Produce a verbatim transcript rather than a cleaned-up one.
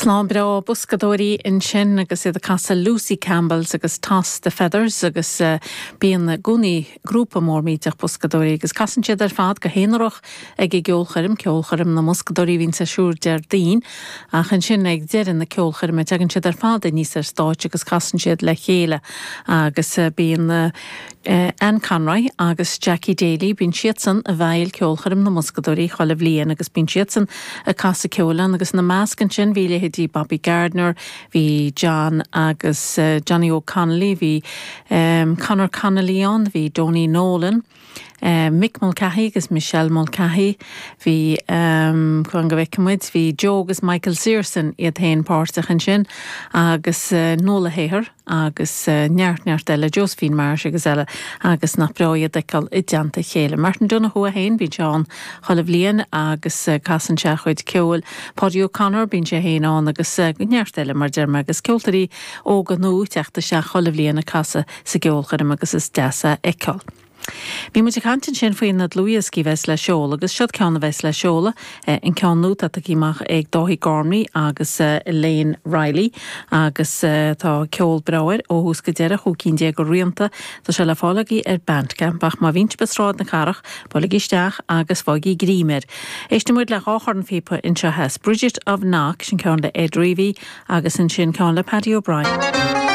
Slán breá Buscadóirí ansin agus iad ag casadh Lucy Campbell's agus Toss the Feathers agus uh, bíonn i gcónaí grúpa mór millteach buscadóirí agus casann siad ar fad go haonarach ag an gceolchoirm ceolchoirm na mbuscadóirí a bhíonn ar siúl Déardaoin ach ansin ag deireadh na ceolchoirme tagann siad ar fad aníos ar stáitse agus casann siad le chéile agus uh, bíonn uh, uh, Anne Conroy agus Jackie Daly bíonn siadsan i bhfeighil ceolchoirm na mbuscadóirí chuile bhliain agus bíonn siadsan ag casadh ceoil agus ina measc ansin bhí leithéidí Bobby Gardner, bhí John agus uh, Johnny O'Connelly, bhí um, Conor Connolly ann, bhí Donie Nolan. Uh, Mick Mulcahy agus Michelle Mulcahy bhí um, chu go bhmuid bhí Joe agus Michael Searson iad féin páirteach ansin agus uh, Nola Heher agus uh, neart neart eile Josephine Marsh agus eile agus nach breá iad a fheiceáil i dteannta chéile. Martin Donoghue féin bíonn sé ann chuile bhliain agus uh, casann sé chuid ceoil. Paddy O'Connor bíonn sé féin ann agus uh, neart eile mar deir agus ceoltóirí óga nua ag teacht isteach chuile bhliain ag casadh sa gceolchoirm agus is deas a fheiceáil. Bhí muid ag caint ansin faoi na dlúthdhioscaí bheas le seoladh agus seo ceann a bheas le seoladh an ceann nua atá amach ag Dáithí Gormley agus Elaine Riley agus tá ceol breá air ó thús go deireadh chúig cinn déag de rianta tá sé le fáil agaibh ar Bandcamp ach má bhíonn sibh i Sráid na Cathrach buailigí isteach agus fáigí greim air. Éistfidh muid le dhá chornphíopa anseo theas Bridget of Knock sin ceann le Ed Reavy agus ansin ceann le Paddy O'Brien.